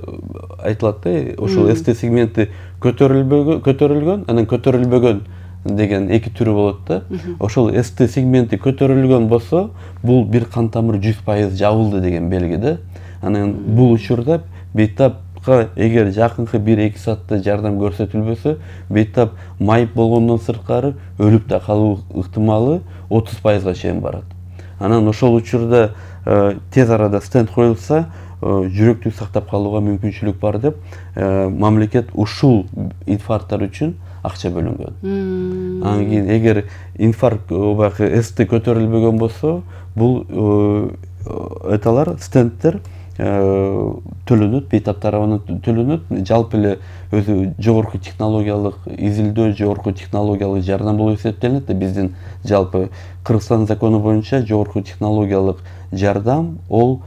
айтылат да. Ошол эс-ти сегменти көтөрүлбөгөн, көтөрүлгөн, анан көтөрүлбөгөн деген эки түрү болот да. Ошол эс-ти сегменти көтөрүлгөн болсо, бул бир кан тамыр жүз пайыз жабылды деген белги да. Анан бул учурда бейтапка эгер жакынкы бир-эки саатта жардам көрсөтүлбөсө, бейтап майып болгондон сырткары өлүп да калуу ыктымалы отуз пайызга чейин барат. Анан ошол учурда тез арада стенд коюлса, жүрөктү сактап калууга мүмкүнчүлүк бар деп, мамлекет ушул инфаркттар үчүн акча бөлүнгөн. Анан кийин эгер инфаркт баягы эс-ти көтөрүлбөгөн болсо, бул эталар стендтер төлөнөт, бейтап тарабынан төлөнөт. Жалпы эле өзү жогорку технологиялык изилдөө, жогорку технологиялык жардам болуп эсептелинет да. Биздин жалпы Кыргызстан закону боюнча жогорку технологиялык жардам ол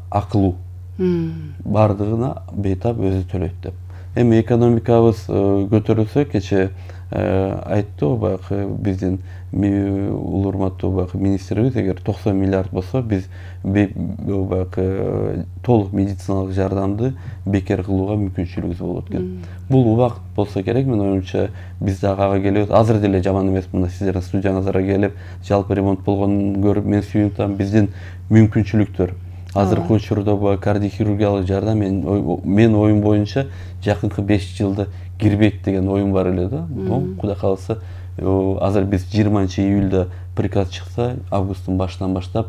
акылуу. Бардыгына бейтап өзү төлөйт деп. Эми экономикабыз көтөрүлсө, кече айтты баягы биздин улуу урматтуу баягы министрибиз, эгер токсон миллиард болсо, биз баягы толук медициналык жардамды бекер кылууга мүмкүнчүлүгүбүз болот экен. Бул убакыт болсо керек, мен оюмча биз дагы ага келебиз. Азыр деле жаман эмес, мына сиздердин студияңыздарга келип, жалпы ремонт болгонун көрүп мен сүйүнүп атам. Биздин мүмкүнчүлүктөр азыркы учурда бул кардиохирургиялык жардам мен оюм боюнча жакынкы беш жылда кирбейт деген оюм бар эле да. Кудай кааласа, азыр биз жыйырманчы июлда приказ чыкса, августтун башынан баштап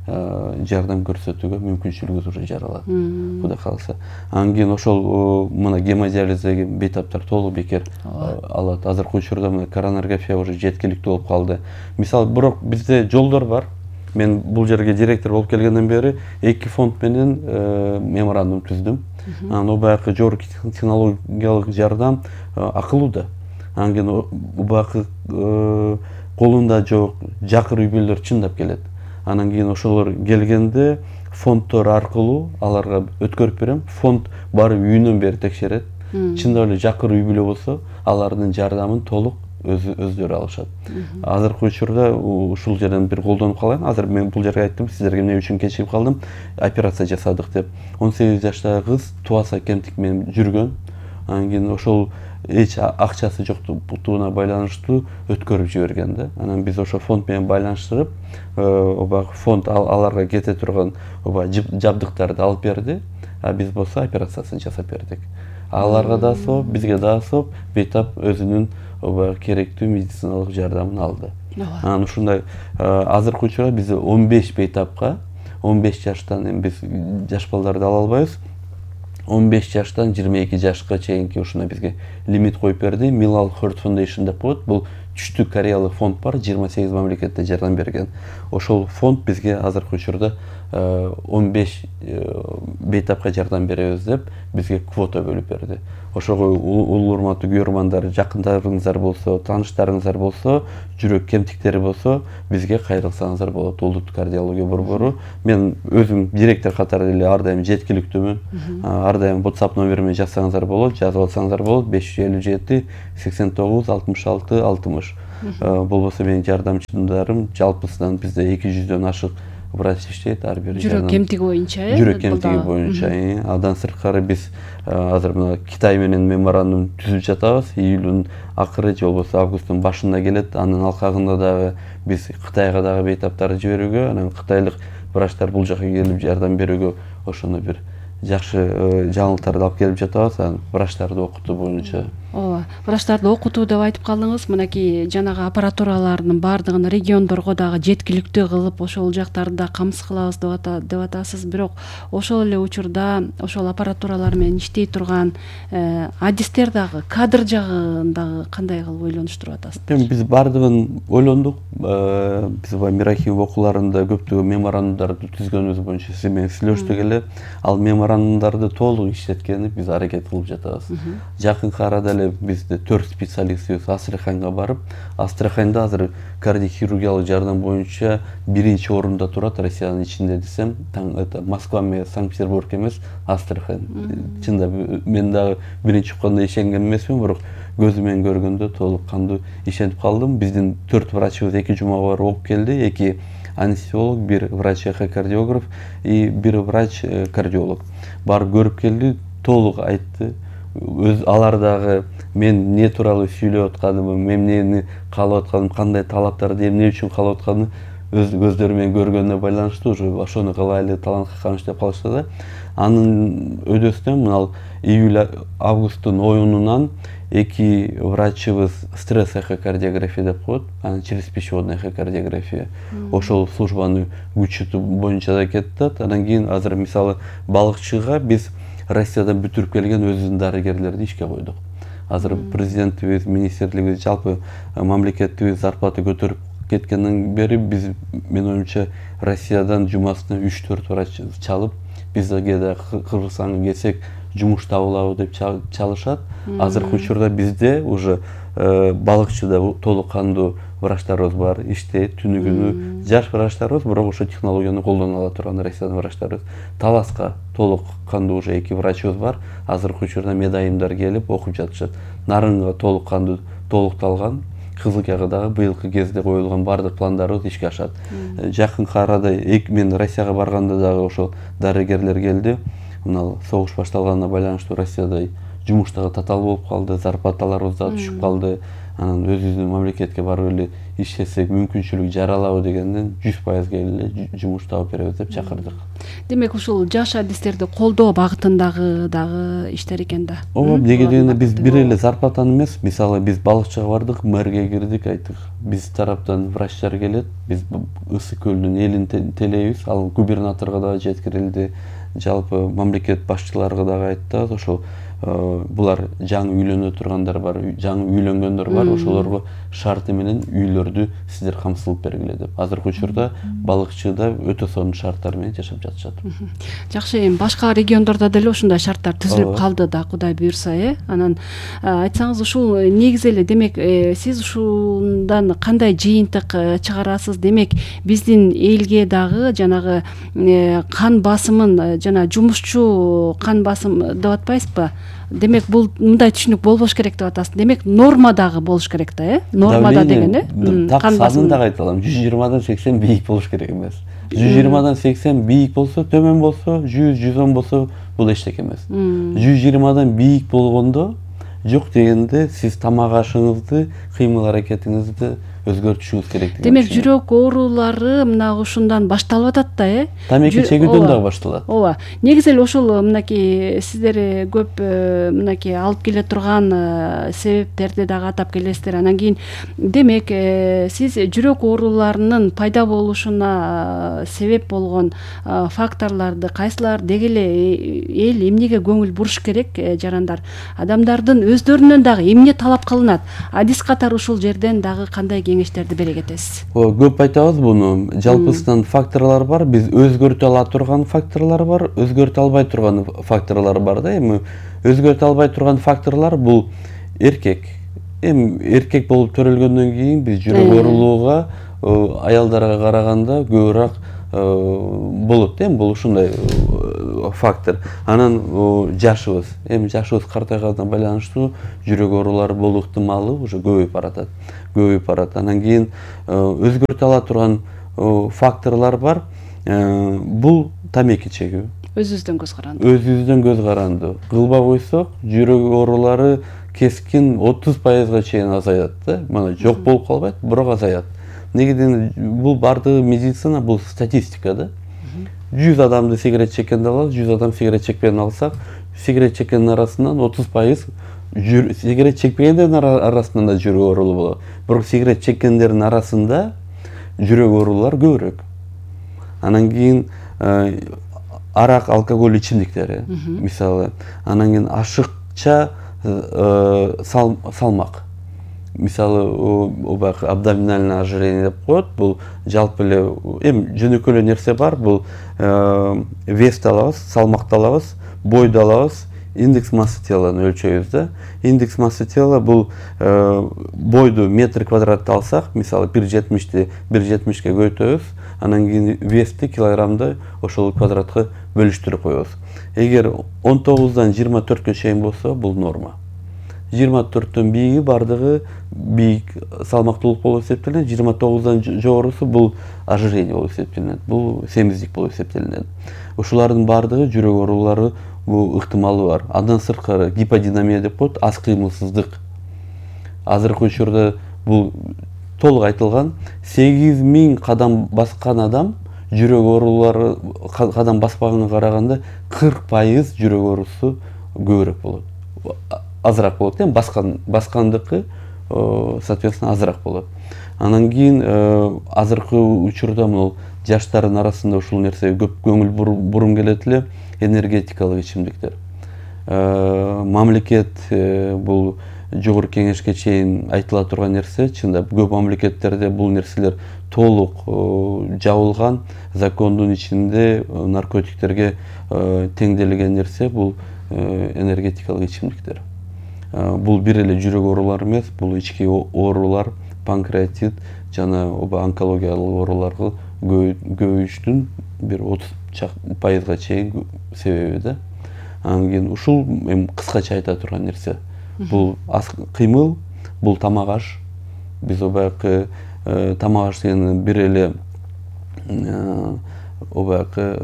жардам көрсөтүүгө мүмкүнчүлүгүбүз уже жаралат. Кудай кааласа. Анан кийин ошол мына гемодиализдеги бейтаптар толук бекер алат. Азыркы учурда мына коронарография уже жеткиликтүү болуп калды. Мисалы, бирок бизде жолдор бар. Мен бул жерге директор болуп келгенден бери эки фонд менен меморандум түздүм. Анан о баягы жогорку технологиялык жардам акылуу да. Анан кийин баягы колунда жок жакыр үй бүлөлөр чындап келет. Анан кийин ошолор келгенде фонддор аркылуу аларга өткөрүп берем. Фонд барып үйүнөн бери текшерет. Чындап эле жакыр үй бүлө болсо, алардын жардамын толук өздөрү алышат. Азыркы учурда ушул жерден бир колдонуп калайын. Азыр мен бул жерге айттым, сиздерге эмне үчүн кечигип калдым, операция жасадык деп. он сегиз жаштагы кыз туаса кемтик менен жүргөн. Анан кийин ошол эч акчасы жоктугуна байланыштуу өткөрүп жиберген да. Анан биз ошо фонд менен байланыштырып, оба фонд аларга кете турган оба жабдыктарды алып берди, а биз болсо операциясын жасап бердик. Аларга да соп, бизге да соп, бейтап өзүнүн оба керектүү медициналык жардамын алды. Анан ушундай азыркы учурда биз он беш бейтапка, он беш жаштан эми биз жаш балдарды ала албайбыз. он беш жаштан жыйырма эки жашка чейинки ушуна бизге лимит коюп берди. Milal Heart Foundation деп коет. Бул Түштүк Кореялык фонд бар, жыйырма сегиз мамлекетте жардам берген. Ошол фонд бизге азыркы учурда он беш бейтапка жардам беребиз деп бизге квота бөлүп берди. Ошого улуу урматтуу көрөрмандар, жакындарыңыздар болсо, тааныштарыңыздар болсо, жүрөк кемтиктери болсо, бизге кайрылсаңыздар болот. Улуттук кардиология борбору. Мен өзүм директор катары эле ар дайым жеткиликтүүмүн. Ар дайым WhatsApp номериме жазсаңыздар болот, жазып алсаңыздар болот. беш жүз элүү жети сексен тогуз алтымыш алты алтымыш. Болбосо менин жардамчыларым жалпысынан бизде эки жүздөн ашык врач иштейт, ар бир жүрөк кемтиги боюнча, э? Жүрөк кемтиги боюнча. Андан сырткары биз азыр мына Китай менен меморандум түзүп жатабыз. Июлдун акыры же болбосо августтун башында келет. Анын алкагында дагы биз Кытайга дагы бейтаптарды жиберүүгө, анан кытайлык врачтар бул жака келип жардам берүүгө ошону бир жакшы жаңылыктарды алып келип жатабыз. Анан врачтарды окутуу боюнча. Ооба, врачтарды окутуу деп айтып калдыңыз. Мынакей жанагы аппаратуралардын баардыгын региондорго дагы жеткиликтүү кылып, ошол жактарды камсыз кылабыз деп атасыз. Бирок ошол эле учурда ошол аппаратуралар менен иштей турган адистер дагы, кадр жагындагы кандай кылып ойлонуштуруп атасыз? Эми биз баардыгын ойлондук. Биз Мирахим окууларында көптөгөн меморандумдарды түзгөнүбүз боюнча сиз менен сүйлөштүк эле. Ал меморандумдарды толук иштеткени биз аракет кылып жатабыз. Жакынкы арада эле бизде төрт специалистибиз Астраханьга барып, Астраханьда азыр кардиохирургиялык жардам боюнча биринчи орунда турат Россиянын ичинде десем, это Москва менен Санкт-Петербург эмес, Астрахань. Чында мен дагы биринчи укканда ишенген эмесмин, бирок көзүм менен көргөндө толук кандуу ишенип калдым. Биздин төрт врачыбыз эки жумага барып окуп келди. Эки анестезиолог, бир врач-эхокардиограф и бир врач-кардиолог. Барып көрүп келди, толук айтты. Өз алар дагы мен эмне тууралуу сүйлөп атканымды, мен эмнени каалап атканымды, кандай талаптарды эмне үчүн каалап атканымды өз көздөрү менен көргөнүнө байланыштуу уже ошону кылайлы, талантка камыш деп калышты да. Анын өдөсүнөн мына июль августтун оюнунан эки врачыбыз стресс эхокардиография деп коет, анан через пищеводная эхокардиография. Ошол службаны күчөтүү боюнча да кетет. Анан кийин азыр мисалы балыкчыга биз Россиядан бүтүрүп келген өзүбүздүн дарыгерлерди ишке койдук. Азыр президентибиз, министрлигибиз, жалпы мамлекетибиз зарплата көтөрүп кеткенден бери биз, менин оюмча, Россиядан жумасына үч төрт врач чалып, бизге да Кыргызстанга келсек жумуш табылабы деп чалышат. Азыркы учурда бизде уже балыкчыда толук кандуу врачтарыбыз бар, иштейт түнү күнү. Жаш врачтарыбыз, бирок ошо технологияны колдоно ала турган Россиянын врачтарыбыз. Таласка толук кандуу уже эки врачыбыз бар. Азыркы учурда медайымдар келип окуп жатышат. Нарынга толук кандуу толукталган. Кызылкага дагы быйылкы кезде коюлган баардык пландарыбыз ишке ашат. Жакынкы арада мен Россияга барганда дагы ошол дарыгерлер келди. Мына согуш башталганына байланыштуу Россияда жумуш дагы татаал болуп калды, зарплаталарыбыз да түшүп калды. Анан өзүбүздүн мамлекетке барып эле иштесек мүмкүнчүлүк жаралабы дегенден жүз пайызга эле жумуш таап беребиз деп чакырдык. Демек ушул жаш адистерди колдоо багытындагы дагы иштер экен да. Ооба, неге дегенде биз бир эле зарплатаны эмес, мисалы биз балыкчыга бардык, мэрге кирдик, айттык, биз тараптан врачтар келет, биз Ысык көлүнүн элин телейбиз, ал губернаторго дагы жеткирилди, жалпы мамлекет башчыларга дагы айттык, ошол булар жаңы үйлөнө тургандар бар, жаңы үйлөнгөндөр бар, ошолорго шарты менен үйлөрдү сиздер камсыздап бергиле деп. Азыркы учурда балыкчыда өтө сонун шарттар менен жашап жатышат. Жакшы, эми башка региондордо деле ушундай шарттар түзүлүп калды да, Кудай буйрса, э. Анан айтсаңыз, ушул негизи эле, демек, сиз ушундан кандай жыйынтык чыгарасыз? Демек, биздин элге дагы жанагы кан басымын, жана жумушчу кан басым деп атпайсызбы? Демек, бул мындай түшүнүк болбош керек деп атасыз. Демек, норма дагы болуш керек да, э? Нормада деген, э? Так санын дагы айта алам. жүз жыйырмадан сексен бийик болуш керек эмес. жүз жыйырмадан сексен бийик болсо, төмөн болсо, жүз жүз он болсо, бул эчтеке эмес. жүз жыйырмадан бийик болгондо жок дегенде сиз тамак ашыңызды, кыймыл аракетиңизди өзгөртүшүңүз керек деген. Демек жүрөк оорулары мына ушундан башталып атат да, э? Тамеки чегүүдөн дагы башталат. Ооба. Негизи эле ошол мынакей сиздер көп мынакей алып келе турган себептерди дагы атап келесиздер. Анан кийин демек сиз жүрөк ооруларынын пайда болушуна себеп болгон факторлорду кайсылар деги эле эл эмнеге көңүл буруш керек, жарандар? Адамдардын өздөрүнөн дагы эмне талап кылынат? Адис катары ушул жерден дагы кандай кеңештерди бере кетесиз? Көп айтабыз буну. Жалпысынан факторлор бар. Биз өзгөртө ала турган факторлор бар, өзгөртө албай турган факторлор бар да. Эми өзгөртө албай турган факторлор бул эркек. Эми эркек болуп төрөлгөндөн кийин биз жүрөк оорулууга аялдарга караганда көбүрөөк болот. Эми бул ушундай фактор. Анан жашыбыз, эми жашыбыз картайганга байланыштуу жүрөк оорулары болуу ыктымалы уже көбөйүп баратат. көбөйүп барат. Анан кийин өзгөртө ала турган факторлор бар. Бул тамеки чегүү. Өзүбүздөн көз каранды. Өзүбүздөн көз каранды. Кылбай койсок, жүрөк оорулары кескин отуз пайызга чейин азаят да. Мына жок болуп калбайт, бирок азаят. Негеден бул бардыгы медицина, бул статистика да. жүз адамды сигарет чеккенди алабыз, жүз адам сигарет чекпеген алсак, сигарет чеккендин арасынан отуз пайыз сигарет чекпегендердин арасында да жүрөк оорулуу болот. Бирок сигарет чеккендердин арасында жүрөк оорулуулар көбүрөөк. Анан кийин арак, алкоголь ичимдиктери, мисалы, анан кийин ашыкча салмак. Мисалы, убак абдоминальное ожирение деп коет. Бул жалпы эле эми жөнөкөй эле нерсе бар. Бул вести алабыз, салмакты алабыз, бойду алабыз, индекс массы теланы өлчөйбүз да. Индекс массы тела бул бойду метр квадратты алсак, мисалы бир жетимишти бир жетимишке көбөйтөбүз, анан кийин вести килограммды ошол квадратка бөлүштүрүп коебуз. Эгер он тогуздан жыйырма төрткө чейин болсо, бул норма. жыйырма төрттөн бийиги бардыгы бийик салмактуулук болуп эсептелинет, жыйырма тогуздан жогорусу бул ожирение болуп эсептелинет, бул семиздик болуп эсептелинет. Ушулардын бардыгы жүрөк оорулары бул ыктымалы бар. Андан сырткары гиподинамия деп коет, аз кыймылсыздык. Азыркы учурда бул толук айтылган. сегиз миң кадам баскан адам жүрөк оорулары кадам баспаганга караганда кырк пайыз жүрөк оорусу көбүрөөк болот. Азыраак болот, эми баскан баскандыкы соответственно азыраак болот. Анан кийин азыркы учурда могул жаштардын арасында ушул нерсеге көп көңүл бурум келет эле, энергетикалык ичимдиктер. Мамлекет бул жогорку кеңешке чейин айтыла турган нерсе, чындап көп мамлекеттерде бул нерселер толук жабылган, закондун ичинде наркотиктерге теңделген нерсе бул энергетикалык ичимдиктер. Бул бир эле жүрөк оорулары эмес, бул ички оорулар, панкреатит жана онкологиялык ооруларга көбөйүштүн бир отуз пайызга чейин себеби да. Анан кийин ушул эми кыскача айта турган нерсе. Бул аз кыймыл, бул тамак аш. Биз обаякы тамак аш деген бир эле обаякы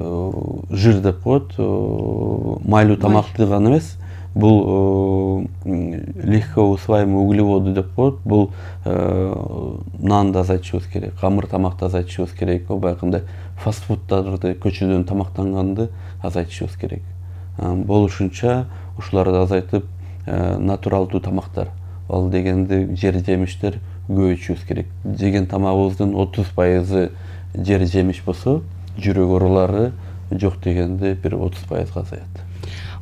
жир деп коет, майлуу тамакты гана эмес. Бул легко усваиваемый углеводы деп коет. Бул нанды азайтышыбыз керек, камыр тамакты азайтышыбыз керек, обаякындай фастфуддарды, көчөдөн тамактанганды азайтышыбыз керек. Болушунча ушуларды азайтып натуралдуу тамактар, ал дегенде жер жемиштер көбөйтүшүбүз керек. Жеген тамагыбыздын отуз пайызы жер жемиш болсо, жүрөк оорулары жок дегенде бир отуз пайызга азаят.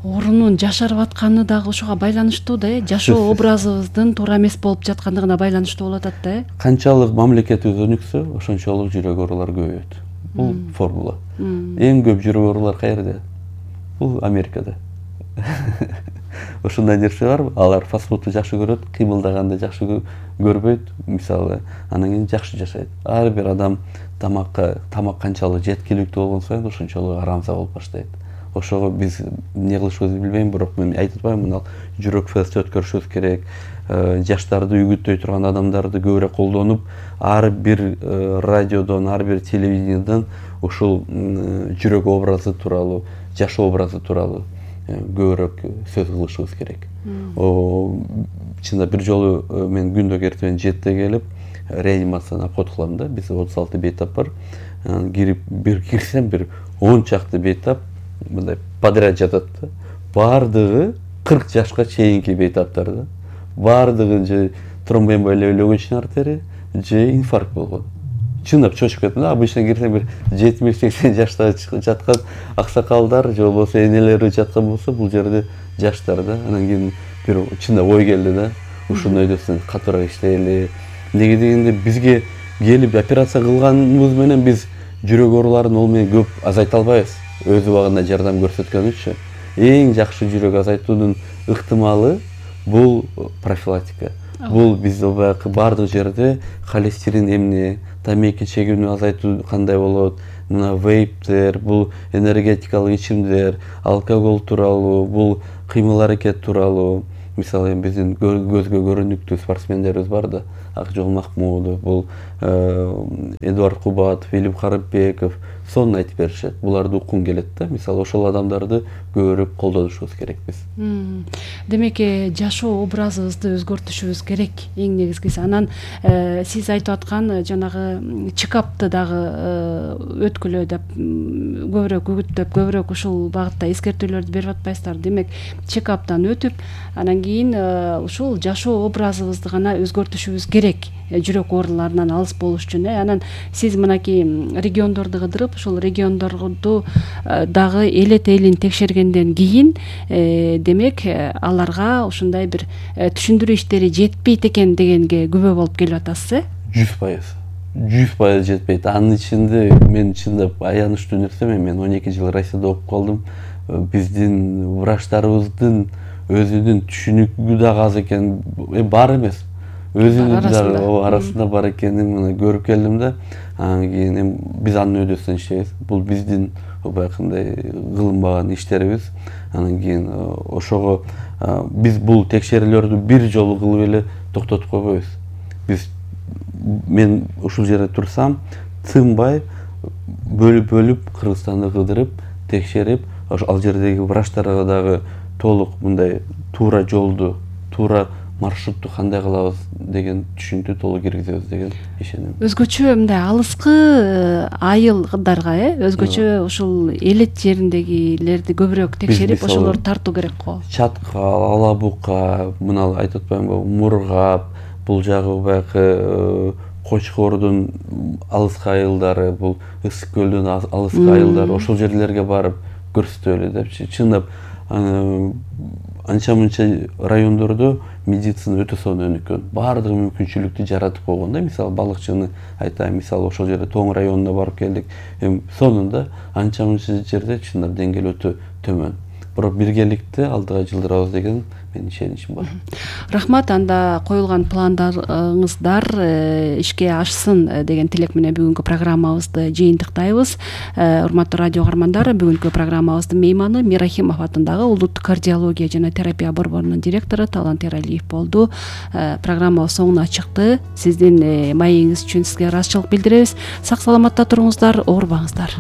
Орунун жашарып атканы дагы ошого байланыштуу да, э? Жашоо образыбыздын туура эмес болуп жаткандыгына байланыштуу болуп атат да, э? Канчалык мамлекетибиз өнүксө, ошончолук жүрөк оорулары көбөйөт. Бул формула. Эң көп жүрөк оорулар каерде? Бул Америкада. Ошондой нерсе бар. Алар фастфудду жакшы көрөт, кыймылдаганды жакшы көрбөйт, мисалы, анан кийин жакшы жашайт. Ар бир адам тамакка, тамак канчалык жеткиликтүү болгон сайын ошончолук арамза болуп баштайт. Ошого биз эмне кылышыбызды билбейм, бирок мен айтып атпаймынбы, мына жүрөк фест өткөрүшүбүз керек. Жаштарды үгүттөй турган адамдарды көбүрөөк колдонуп, ар бир радиодон, ар бир телевидениеден ушул жүрөк образы тууралуу, жашоо образы тууралуу көбүрөөк сөз кылышыбыз керек. Чында бир жолу мен күндө эртең жетиде келип реанимацияны обход кылам да. Бизде отуз алты бейтап бар. Кирип бир кирсем бир он чакты бейтап мындай подряд жатат да. Бардыгы кырк жашка чейинки бейтаптар да. Бардыгы же тромбоэмболия легочный артерия, же инфаркт болгон. Чындап чочуп кеттим да. Обычно кирсем бир жетимиш сексен жашта жаткан аксакалдар же болбосо энелери жаткан болсо, бул жерде жаштар да. Анан кийин бир чындап ой келди да. Ушуну өйдөсүн катуураак иштейли. Неге дегенде бизге келип операция кылганыбыз менен биз жүрөк ооруларын ол менен көп азайта албайбыз. Өз убагында жардам көрсөткөн үчүн эң жакшы жүрөк азайтуунун ыктымалы бул профилактика. Бул биз бардык жерде холестерин эмне, тамеки чегүүнү азайтуу кандай болот, мына вейптер, бул энергетикалык ичимдер, алкоголь тууралуу, бул кыймыл аракет тууралуу. Мисалы биздин көзгө көрүнүктүү спортсмендерибиз бар да. Акжол Махмудов, бул Эдуард Кубатов, Филипп Карыбеков сонун айтып беришет. Буларды уккун келет да. Мисалы ошол адамдарды көбүрөөк колдонушубуз керек биз. Демек, жашоо образыбызды өзгөртүшүбүз керек эң негизгиси. Анан сиз айтып аткан жанагы чекапты дагы өткүлө деп көбүрөөк үгүттөп, көбүрөөк ушул багытта эскертүүлөрдү берип атпайсыздар. Демек, чекаптан өтүп, анан кийин ушул жашоо образыбызды гана өзгөртүшүбүз керек. Жүрөк ооруларынан алыс болуш үчүн. Анан сиз мынакей региондорду кыдырып, ушул региондорду дагы элет элин текшергенден кийин, демек, аларга ушундай бир түшүндүрүү иштери жетпейт экен дегенге күбө болуп келип атасыз, э? жүз пайыз. жүз пайыз жетпейт. Анын ичинде мен чындап аянычтуу нерсе, мен он эки жыл Россияда окуп калдым. Биздин врачтарыбыздын өзүнүн түшүнүгү дагы аз экен, бар эмес. Өзүнүн дагы арасында бар экенин мына көрүп келдим да. Анан кийин биз анын өйдөсүнөн иштейбиз. Бул биздин баягындай кылынбаган иштерибиз. Анан кийин ошого биз бул текшерүүлөрдү бир жолу кылып эле токтотуп койбойбуз. Биз мен ушул жерде турсам, тынбай бөлүп-бөлүп Кыргызстанды кыдырып, текшерип, ал жердеги врачтарга дагы толук мындай туура жолду, туура маршрутту кандай кылабыз деген түшүнтүү толук киргизебиз деген ишенем. Өзгөчө мындай алыскы айылдарга, э, өзгөчө ушул элет жериндегилерди көбүрөөк текшерип, ошолорду тартуу керек го. Чаткал, Алабука, мына айтып атпаймынбы, Мургап, бул жагы баягы Кочкордун алыскы айылдары, бул Ысык көлдүн алыскы айылдары, ошол жерлерге барып көрсөтөлү депчи. Чындап анча-мынча райондордо медицина өтө сонун өнүккөн. Баардык мүмкүнчүлүктү жаратып койгон да. Мисалы балыкчыны айтайын, мисалы ошол жерде Тоң районуна барып келдик. Эми сонунда анча-мынча жерде чындап деңгээл өтө төмөн. Бирок биргеликте алдыга жылдырабыз деген менин ишеничим бар. Рахмат, анда коюлган пландарыңыздар ишке ашсын деген тилек менен бүгүнкү программабызды жыйынтыктайбыз. Урматтуу радио каармандар, бүгүнкү программабыздын мейманы Мирахимов атындагы Улуттук кардиология жана терапия борборунун директору Талант Эралиев болду. Программабыз соңуна чыкты. Сиздин маегиңиз үчүн сизге ыраазычылык билдиребиз. Сак саламатта туруңуздар, оорубаңыздар.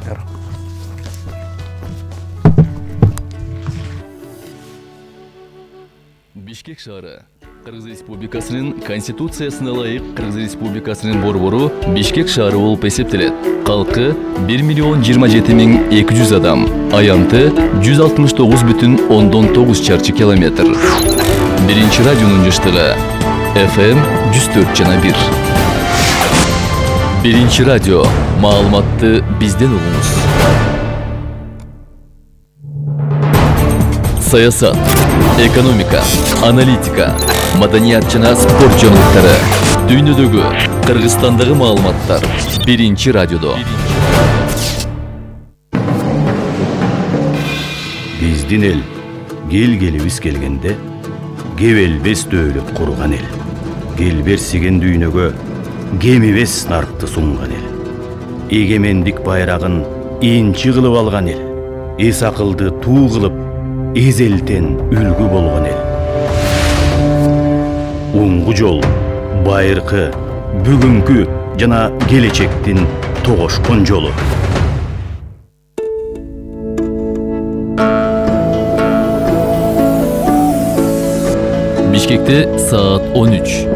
Бишкек шаары Кыргыз Республикасынын Конституциясына ылайык Кыргыз Республикасынын борбору Бишкек шаары болуп эсептелет. Калкы бир миллион жыйырма жети миң эки жүз адам, аянты жүз алтымыш тогуз бүтүн ондон тогуз чарчы километр. Биринчи радионун жыштыгы эф эм жүз төрт жана бир. Биринчи радио, маалыматты бизден угуңуз. Саясат, экономика, аналитика, маданият жана спорт жаңылыктары, дүйнөдөгү, Кыргызстандагы маалыматтар биринчи радиодо. Биздин эл кел-келибиз келгенде кебелбес дөөлөт курган эл. Келберсиген дүйнөгө кемибес наркты сунган эл. Эгемендик байрагын инчи кылып алган эл. Эс акылды туу кылып эзелтен үлгү болгон эл. Уңгу жол, байыркы, бүгүнкү жана келечектин тогошкон жолу. Бишкекте саат он үч.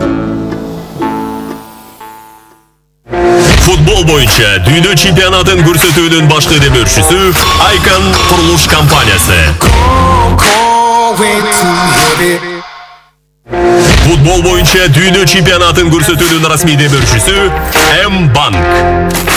Футбол боюнча дүйнө чемпионатын көрсөтүүнүн башкы демөөрчүсү Айкан курулуш компаниясы. Футбол боюнча дүйнө чемпионатын көрсөтүүнүн расмий демөөрчүсү М-банк.